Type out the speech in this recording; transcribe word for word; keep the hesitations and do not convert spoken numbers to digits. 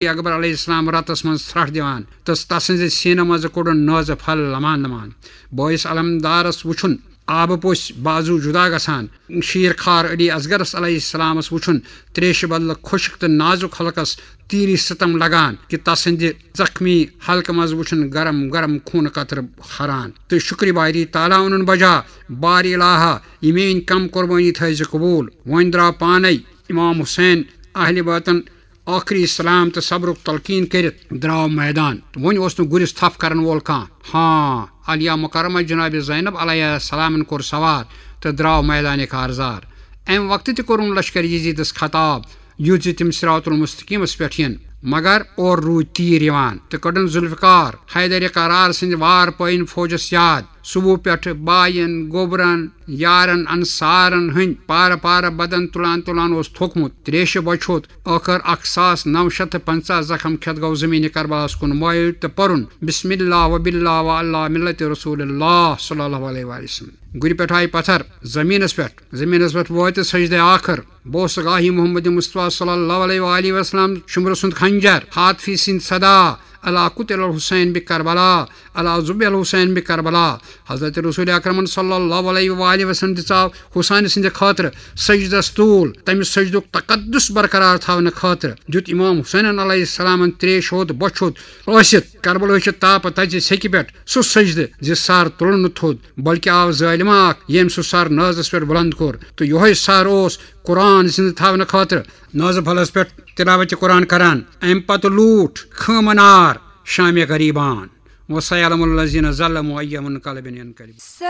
اکبر علیہ السلام رتس منٛز ژھرٹھ دِوان تہٕ تسٕنٛزِ سینہٕ منٛز کوٚڑُن نازٕ پھل لمان لمان۔ بٲیِس علمدارس وُچھُن آبہٕ پوٚژھۍ بازو جدا گژھان۔ شیٖر خار علی اصغرس علیہ السلامس وُچھُن تریشہِ بدلہٕ خۄشک تہٕ نازُک حلقس تیٖری ستم لگان کہِ تسٕنٛدِ زخمی حلقہٕ منٛز وُچھُن گرم گرم خوٗنہٕ قطرٕ ہران۔ تہٕ شُکرِ باری تعالیٰ اونُن بجا، بار الٰہا، یہِ میٲنۍ کم قربٲنی تھٲیزِ قبوٗل۔ وۄنۍ درٛاو پانے امام حسین اہلِ وطن ٲخری سلام تہٕ صبرُک تلقین کٔرِتھ درٛاو میدان۔ وۄنۍ اوس نہٕ گُرِس تھپھ کرن وول کانٛہہ۔ ہاں، عالیہ مکرمہ جناب زینب علیہ السلامن کوٚر سوار تہٕ درٛاو میدانہِ کارزار۔ امہِ وقتہٕ تہِ کوٚرُن لشکر یزیدس خطاب، یُتھ زِ تِم صراط المستقیمس پٮ۪ٹھ یِن، مگر اورٕ روٗدۍ تیٖر یِوان تہٕ کٔڈٕن ذوالفقار حیدرِ قرار سٕنٛدِ وار پٲیِن فوجس یاد۔ صبح پٮ۪ٹھٕ باین، گوبرن، یارن انصارن ہٕنٛدۍ پارٕ پارٕ بدن تُلان تُلان اوس تھوٚکمُت تریشہِ بۄچھِ ہوٚت۔ ٲخٕر اکھ ساس نو شیٚتھ تہٕ پنٛژاہ زخم کھٮ۪تھ گوٚو زمینِ کربلاہس کُن مٲیِل تہٕ پوٚرُن بسم اللہ و باللہ و اللہ ملت رسول اللہ صلی اللہ علیہ وآلہ وسلم۔ گُرِ پٮ۪ٹھ آیہِ پتھر زمینس پٮ۪ٹھ۔ زمینس پٮ۪ٹھ وٲتِتھ سجدے آخر بوس گاہی محمد مصطفیٰ صلی اللہ علیہ وآلہ وسلم شمرٕ سُنٛد خنجر، حاطفی سٕنٛدۍ صدا، الا قتل الحسین بکربلا، الا ذبح الحسین بکربلا۔ حضرت رسول اکرمن صلی اللہ علیہ وآلہ وسلم دِژاو حسین سٕنٛدِ خٲطرٕ سجدس طول۔ تمہِ سجدُک تقدس برقرار تھاونہٕ خٲطرٕ دیُت امام حسینن علیہ السلامن تریش ہوٚت بۄچھِ ہوٚت ٲسِتھ کربلہٕچہِ تاپہٕ تژِ سیٚکہِ پٮ۪ٹھ سُہ سجدٕ زِ سر تُلُن نہٕ تھوٚد، بلکہِ آو ظٲلمہ اکھ، ییٚمۍ سُہ سر نازس پٮ۪ٹھ بلند کوٚر تہٕ یۄہے سر اوس قرآن زِندٕ تھاونہٕ خٲطرٕ نازٕ پھلس پٮ۪ٹھ تلاوت قرآن کران۔ امہِ پتہٕ لوٗٹھ خٲمہٕ نار شامِ غریبان۔ وسیعلم الذین ظلموا ای منقلب ینقلبون۔